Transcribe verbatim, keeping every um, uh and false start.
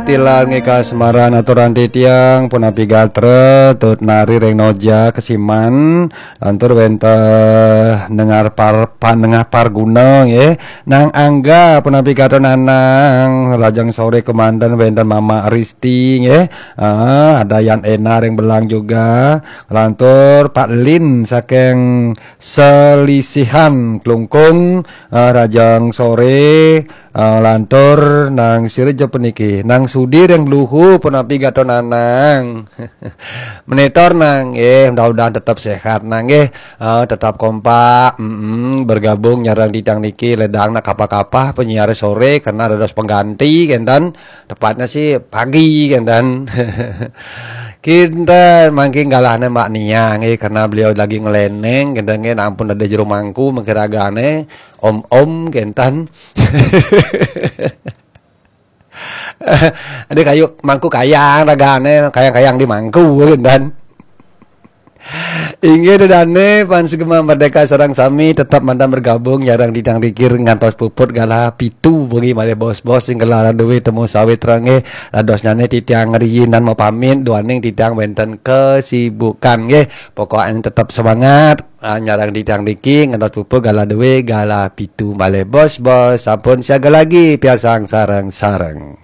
Tilar nggih kasmaran aturan titiang punapi gatra, Tut Nari ring Noja Kesiman, lantur wénten Nengar Par-, Panengah Parguna nggih, Nang Angga punapi gatra Nanang, lajeng soré kémanten wénten Mama Risti nggih. Ah, ada Yan Ena ring Belang juga. Lantur Pak Lin saking Selisihan Klungkung, ah, lajeng soré, ah, lantur Nang Sirja puniki, Nang Sudi ring Bluhu punapi gatra Nanang. Menitor Nang, eh, mudah-mudahan tetap sehat Nang, eh, eh, tetap kompak, mm-mm, bergabung nyareng titiang niki, ledang nak kapah-kapah penyiar soré karena dados pengganti kénten, tepatnya sih pagi kénten. Kinten mangkin galahné Mbak Nia nggih, karena beliau lagi ngeleneng kénten nggih, ampun ada jero mangku mengkiragane om-om kénten. Ada kayu mangku kayang ragane, kayang-kayang di mangku kénten. Inggih dane pan sugema merdeka sareng sami tetap mantan bergabung nyareng titiang rikir ngantos puput galah pitu wengi malih bos-bos sing gelar duwe temu sawit rengge dadosnyane titiang riinan mapamit duaning titiang wenten kesibukan nggih. Pokoknya tetap semangat, ah, nyareng titiang riki ngantos puput galah duwe galah pitu malih bos-bos sampun siaga lagi piasang sareng-sareng.